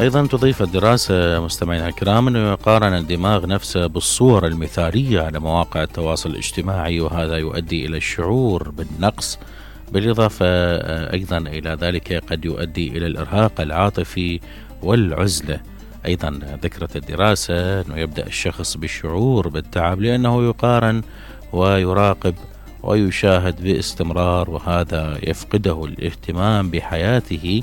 أيضا تضيف الدراسة مستمعينا الكرام أنه يقارن الدماغ نفسه بالصور المثالية على مواقع التواصل الاجتماعي، وهذا يؤدي إلى الشعور بالنقص، بالإضافة أيضا إلى ذلك قد يؤدي إلى الإرهاق العاطفي والعزلة. أيضا ذكرت الدراسة أنه يبدأ الشخص بالشعور بالتعب لأنه يقارن ويراقب ويشاهد باستمرار، وهذا يفقده الاهتمام بحياته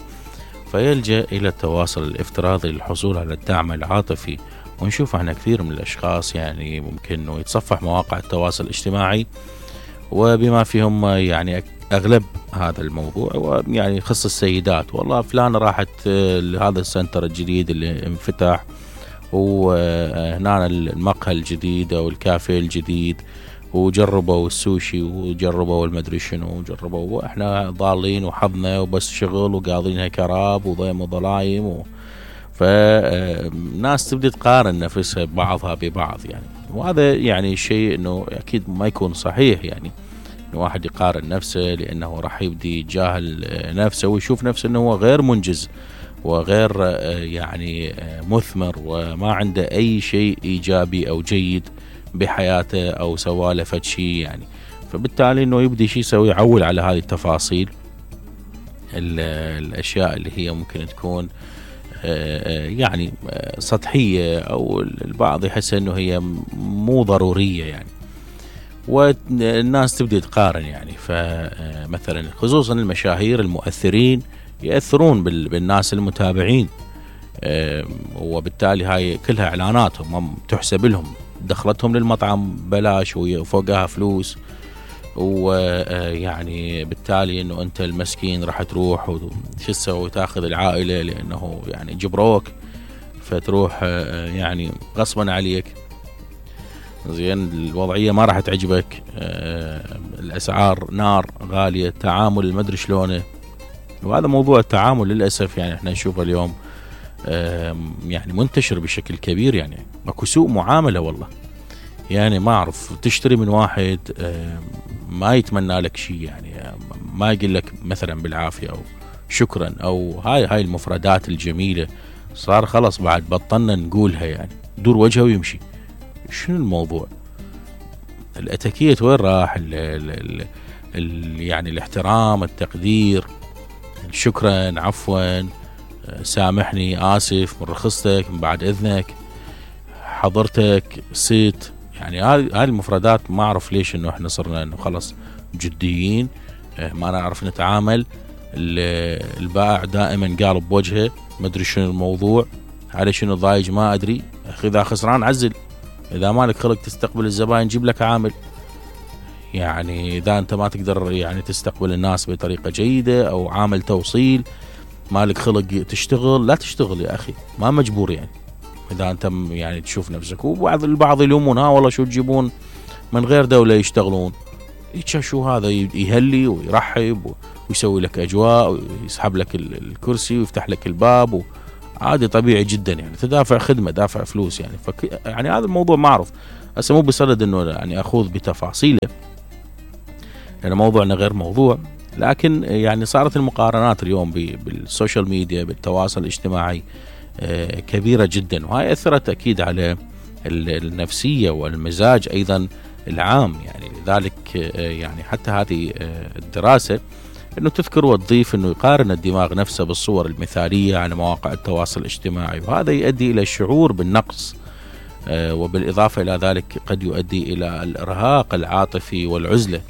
فيلجأ إلى التواصل الافتراضي للحصول على الدعم العاطفي. ونشوف احنا كثير من الأشخاص يعني ممكن أنه يتصفح مواقع التواصل الاجتماعي وبما فيهم يعني أغلب هذا الموضوع، ويعني يخص السيدات، والله فلانة راحت لهذا السنتر الجديد اللي انفتح، وهنا المقهى الجديد أو الكافيه الجديد، وجربوا السوشي وجربوا المدري شنو وجربوا، واحنا ضالين وحظنا وبس شغل وقاضينها كراب وضيم وضلايم فالناس تبدأ تقارن نفسها بعضها ببعض يعني، وهذا يعني شيء انه اكيد ما يكون صحيح، يعني انه واحد يقارن نفسه لانه راح يبدي يجاهل نفسه ويشوف نفسه انه هو غير منجز وغير يعني مثمر وما عنده اي شيء ايجابي او جيد بحياته او سواله فد شيء يعني. فبالتالي انه يبدي شيء يسوي يعول على هذه التفاصيل، الاشياء اللي هي ممكن تكون يعني سطحية او البعض يحس انه هي مو ضرورية يعني، والناس تبدأ تقارن يعني. فمثلا خصوصا المشاهير المؤثرين يأثرون بالناس المتابعين، وبالتالي هاي كلها اعلاناتهم تحسب لهم، دخلتهم للمطعم بلاش وفوقها فلوس، ويعني بالتالي انه انت المسكين راح تروح شو تسوي تاخذ العائلة لانه يعني جبروك فتروح يعني غصبا عليك. زين الوضعية ما راح تعجبك، الاسعار نار غالية، التعامل المدري شلونه، وهذا موضوع التعامل للأسف يعني احنا نشوفه اليوم يعني منتشر بشكل كبير، يعني ماكو سوء معاملة والله، يعني ما أعرف تشتري من واحد ما يتمنى لك شيء، يعني ما يقول لك مثلا بالعافية أو شكرا أو هاي المفردات الجميلة، صار خلص بعد بطلنا نقولها، يعني دور وجهه ويمشي. شنو الموضوع؟ الاتيكيت وين راح؟ يعني الاحترام، التقدير، شكرا، عفوا، سامحني، آسف، من رخصتك، من بعد إذنك، حضرتك، ست، يعني هاي المفردات ما أعرف ليش إنه إحنا صرنا إنه خلص جديين، ما نعرف نتعامل. البائع دائما قالب بوجهه، ما أدري شنو الموضوع، على شنو ضايج ما أدري، أخي إذا خسران عزل، إذا مالك خلق تستقبل الزبائن جيب لك عامل، يعني إذا أنت ما تقدر يعني تستقبل الناس بطريقة جيدة أو عامل توصيل، مالك خلق تشتغل، لا تشتغل يا أخي، ما مجبور يعني، إذا أنت يعني تشوف نفسك. وبعض البعض يلومون والله شو تجيبون من غير دولة يشتغلون، شو هذا يهلي ويرحب ويسوي لك أجواء ويسحب لك الكرسي ويفتح لك الباب، عادي طبيعي جدا يعني، تدافع خدمة دافع فلوس يعني. يعني هذا الموضوع ما أعرف هسه مو بصدد إنه يعني أخوض بتفاصيله لأن موضوعنا غير موضوع، لكن يعني صارت المقارنات اليوم بالسوشيال ميديا بالتواصل الاجتماعي كبيرة جدا، وهي أثرت أكيد على النفسية والمزاج أيضا العام يعني. لذلك يعني حتى هذه الدراسة أنه تذكر وتضيف أنه يقارن الدماغ نفسه بالصور المثالية على مواقع التواصل الاجتماعي، وهذا يؤدي إلى الشعور بالنقص، وبالإضافة إلى ذلك قد يؤدي إلى الإرهاق العاطفي والعزلة.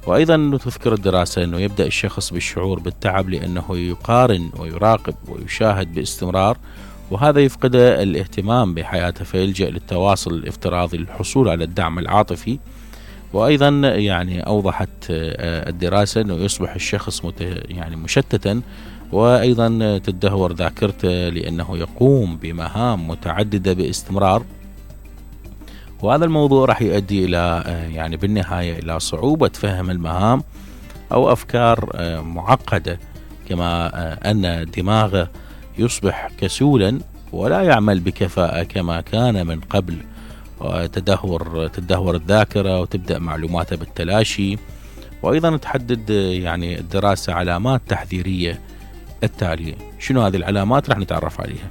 وأيضا تذكر الدراسة أنه يبدأ الشخص بالشعور بالتعب لأنه يقارن ويراقب ويشاهد باستمرار، وهذا يفقد الاهتمام بحياته فيلجأ للتواصل الافتراضي للحصول على الدعم العاطفي. وأيضا يعني أوضحت الدراسة أنه يصبح الشخص يعني مشتتا، وأيضا تدهور ذاكرته لأنه يقوم بمهام متعددة باستمرار، وهذا الموضوع راح يؤدي إلى يعني بالنهاية إلى صعوبة فهم المهام أو أفكار معقدة، كما أن دماغه يصبح كسولا ولا يعمل بكفاءة كما كان من قبل، تدهور الذاكرة وتبدأ معلوماته بالتلاشي. وأيضا تحدد يعني الدراسة علامات تحذيرية التالية. شنو هذه العلامات؟ راح نتعرف عليها.